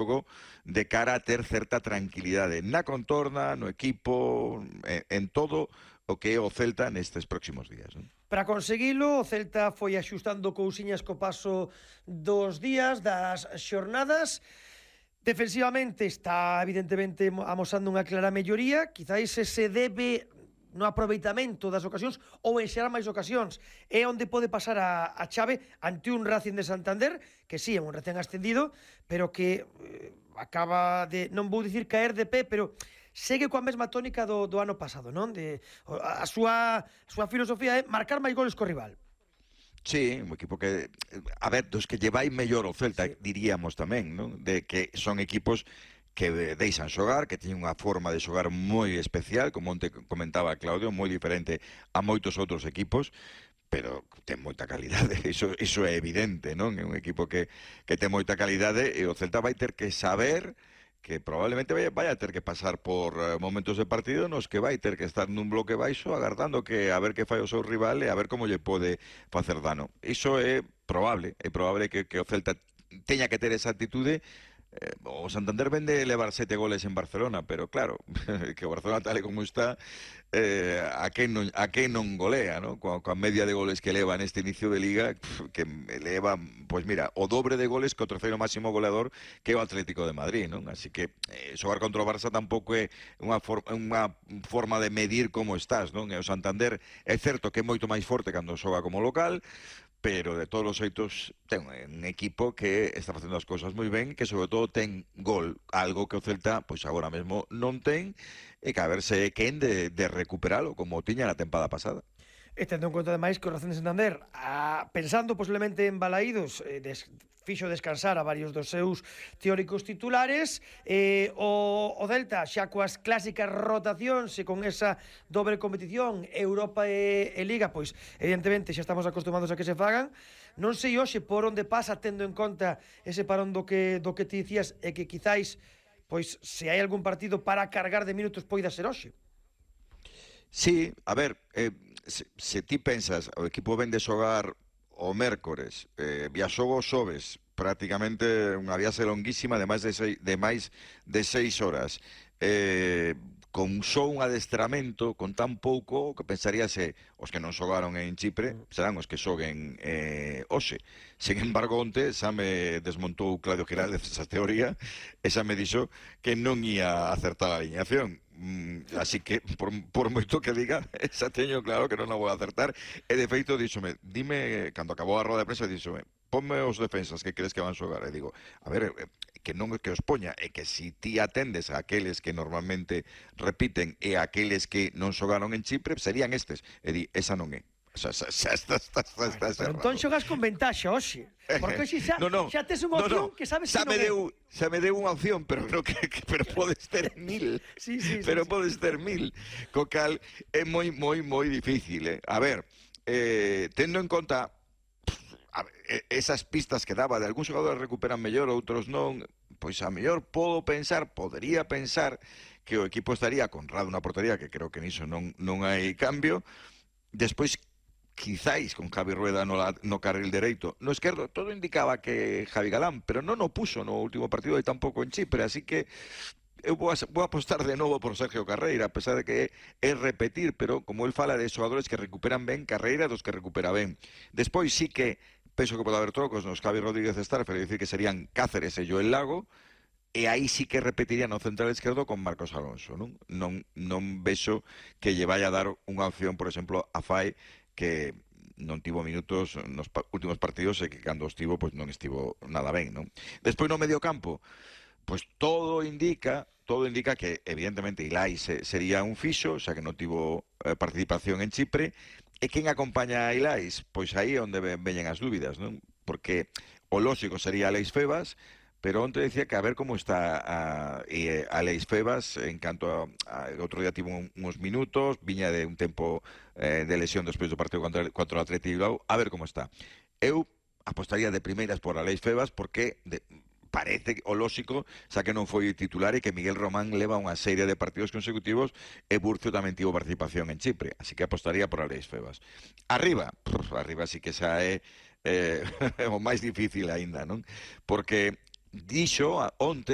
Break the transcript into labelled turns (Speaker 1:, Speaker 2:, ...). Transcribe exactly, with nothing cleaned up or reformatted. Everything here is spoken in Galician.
Speaker 1: xogo de cara a ter certa tranquilidade na contorna, no equipo, en, en todo o que é o Celta nestes próximos días, non?
Speaker 2: Para conseguilo, o Celta foi axustando cousiñas co paso dos días, das xornadas. Defensivamente está evidentemente amosando unha clara melloría, quizáis se debe no aproveitamento das ocasións ou en xerar máis ocasións. É onde pode pasar a, a chave ante un Racing de Santander, que sí, é un recén ascendido, pero que eh, acaba de, non vou dicir caer de pé, pero segue coa mesma tónica do, do ano pasado, non? De, a, a, súa, a súa filosofía é marcar máis goles co rival.
Speaker 1: Sí, un equipo que, a ver, dos que llevai mellor o Celta, sí, diríamos tamén, non? De que son equipos que deixan xogar, que teñen unha forma de xogar moi especial, como onte comentaba Claudio, moi diferente a moitos outros equipos, pero ten moita calidade, iso, iso é evidente, non? É un equipo que, que ten moita calidade e o Celta vai ter que saber que probablemente vai, vai a ter que pasar por uh, momentos de partido nos que vai ter que estar nun bloque baixo agardando que a ver que fai o seu rival e a ver como lle pode facer dano. Iso é probable, é probable que, que o Celta teña que ter esa actitude. Eh, o Santander vende levar sete goles en Barcelona, pero claro, que o Barcelona tal e como está, eh, a quen non, a quen non golea, ¿no? Coa, coa media de goles que leva neste inicio de Liga, que leva, pues mira, o dobre de goles que o terceiro máximo goleador, que é o Atlético de Madrid, non? Así que eh, xogar contra o Barça tampouco é unha, for, unha forma de medir como estás, non? E o Santander é certo que é moito máis forte cando xoga como local, pero de todos os xeitos ten un equipo que está facendo as cousas moi ben, que sobre todo ten gol, algo que o Celta pois agora mesmo non ten, e que a ver se é quen de, de recuperalo como tiña na tempada pasada.
Speaker 2: E tendo en conta ademais que o Racing de Santander, a, pensando posiblemente en Balaídos, eh, des, fixo descansar a varios dos seus teóricos titulares, eh, o, o Celta xa coas clásicas rotacións e con esa dobre competición Europa e, e Liga, pois evidentemente xa estamos acostumados a que se fagan. Non sei hoxe por onde pasa tendo en conta ese parón do que, do que te dicías e que quizáis pois se hai algún partido para cargar de minutos poida ser hoxe.
Speaker 1: Sí, a ver, eh, se, se ti pensas, o equipo ven de xogar o mércores, eh, viaxou o xoves, prácticamente unha viaxe longuísima de máis de seis, de máis de seis horas, eh, con só un adestramento, con tan pouco, que pensaríase os que non xogaron en Chipre serán os que xoguen eh, hoxe. Sin embargo, onte xa me desmontou Claudio Giraldez esa teoría, e xa me dixo que non ia acertar a alineación. Mm, así que, por, por moito que diga, xa teño claro que non a vou acertar. E de feito, díxome, dime, cando acabou a roda de prensa, díxome, ponme os defensas que crees que van xogar. E digo, a ver, que non é que os poña, é que si ti atendes a aqueles que normalmente repiten e a aqueles que non xogaron en Chipre, serían estes. E di, esa non é. Xa, xa, xa está, está, está, está
Speaker 2: cerrado. Entón xogas con ventaxa hoxe. Porque hoxe xa,
Speaker 1: no, no,
Speaker 2: xa tes unha opción
Speaker 1: no, no.
Speaker 2: que sabes
Speaker 1: xa
Speaker 2: que
Speaker 1: me
Speaker 2: non é.
Speaker 1: deu, xa me deu unha opción, pero, no, que, que, pero podes ter mil.
Speaker 2: Sí, sí,
Speaker 1: pero
Speaker 2: sí,
Speaker 1: podes
Speaker 2: sí.
Speaker 1: ter mil. Co cal é moi, moi, moi difícil. Eh? A ver, eh, tendo en conta a ver, esas pistas que daba de algúns xogadores recuperan mellor, outros non, pois a mellor podo pensar, podería pensar que o equipo estaría con Rado na portería, que creo que niso non, non hai cambio. Despois, quizáis con Javi Rueda no, no carril dereito, no esquerdo, todo indicaba que Javi Galán, pero non o puso no último partido e tampouco en Chipre, así que eu vou, a, vou apostar de novo por Sergio Carreira, a pesar de que é repetir, pero como el fala de xogadores que recuperan ben, Carreira dos que recupera ben. Despois sí que penso que pode haber trocos nos Javi Rodríguez Starfer, é dicir que serían Cáceres e Joel Lago, e aí sí que repetiría no central esquerdo con Marcos Alonso, non? Non, non vexo que lle vai a dar unha opción, por exemplo, a Fai, que non tivo minutos nos pa últimos partidos e que cando estivo, pois non estivo nada ben, non? Despois no medio campo, pois todo indica, todo indica que evidentemente Ilai se, sería un fixo, xa que non tivo eh, participación en Chipre, e quen acompaña a Ilais? Pois aí é onde veñen as dúbidas, non? Porque o lóxico sería Aleix Febas, pero onte decía que a ver como está a, e, Aleix Febas en canto a, a outro día tivo un, uns minutos, viña de un tempo eh, de lesión despois do partido contra, contra o Atleti Bilbao, a ver como está. Eu apostaría de primeiras por Aleix Febas porque de, parece o lóxico, xa que non foi titular e que Miguel Román leva unha serie de partidos consecutivos e Burcio tamén tivo participación en Chipre, así que apostaría por Aleix Febas. Arriba, pruf, arriba sí que xa é eh, o máis difícil aínda, non? Porque dixo onte